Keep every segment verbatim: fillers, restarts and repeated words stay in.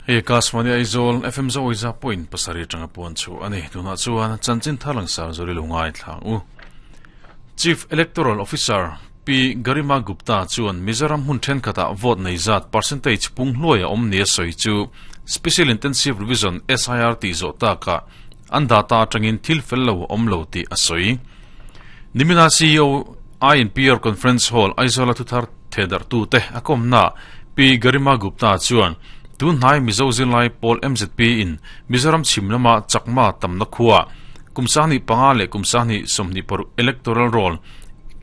Hei Akashvani Aizawl F M zo iza point pasarih atanga puan chu ani tuna chuan chanchin tharlang sar zori lungai thlang u. Chief Electoral Officer P Garima Gupta chuan Mizoram hun then khata vote nei zat percentage pung hluai a awm nia sawi chu Special Intensive Revision S I R ti zo ta ka an data atangin thil fel lo awm lo ti a sawi. Nimina C E O I N P R Conference Hall Aizawl thuthar thedar tu te akomna P Garima Gupta chuan tun hnai Mizo zirlai pawl M Z P in Mizoram chhimlama chakma tamna khuwa kumsani panga le kumsani somni por electoral roll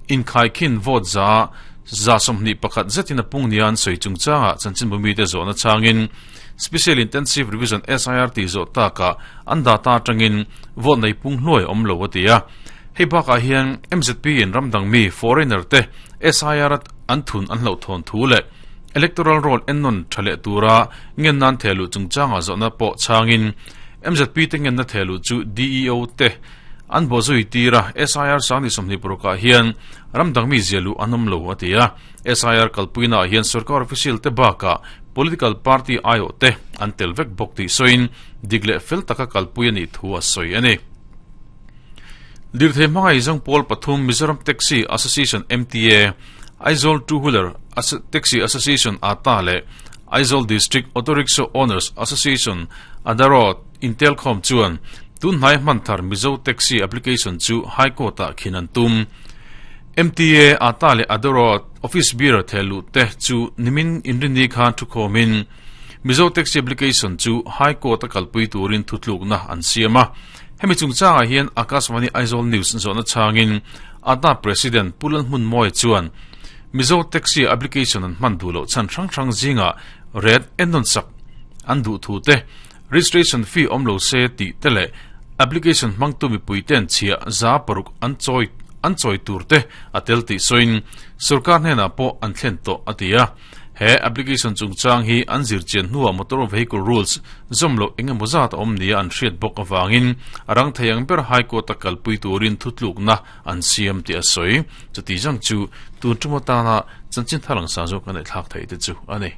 in khai khin vote za za somni pakhat zetina pungnian soi chungchanga chanchin bumi te zona changin Special Intensive Revision S I R ti zo ta ka an data tangin vote nei pung hnuai awm lo atia. Hei bakah hian M Z P in ramdang mi foreigner te S I R an thun an hlo thon thu le electoral roll ennon thale tura ngen nan thelu chungchanga zona po changin M Z P te ngen na thelu chu D E O te an bozui tira S I R sangni somni puruka hian ramdang mi zelu anom lo atia. S I R kalpuina hian sarkar official te baka political party I O te an telvek bok ti soin digle fel taka kalpui ani thu a soi ani. Dirthe mangai jang pol pathum Mizoram Taxi Association M T A Aizawl Two Wheeler Taxi Association A T A le Aizawl District Auto Rickshaw Owners Association Adaro Intelcom chuan tun hnai hman thar Mizo Taxi Application chu High Court a khinan tum. M T A A T A le Adaro Office Bureau thelu te chu nimin inrini khan thu khomin Mizo Taxi Application chu High Court a kalpui turin thutluk na an siama. Hemi chungchanga hian Akashvani Aizawl News zona changin A T A President Pulan Hmun Moi chuan Mizo Taxi Application an hman du lo chan thrang thrang zinga red ennon sak an du thu te registration fee om lo se ti tele application mangtu mi puiten chia za paruk an choi an choi tur te atel ti soin sarkar hne na po an thlen to atia. He application chungchang hi an zir chen nuwa motor vehicle rules zomlo engemaw zat awm nia an hriat bawk awangin arang theiang ber high court a kalpui turin thutluk na an siam ti a sawi chuti jang chu tun tumata na chanchin thalang sa zo kan thlak thei te chu ani.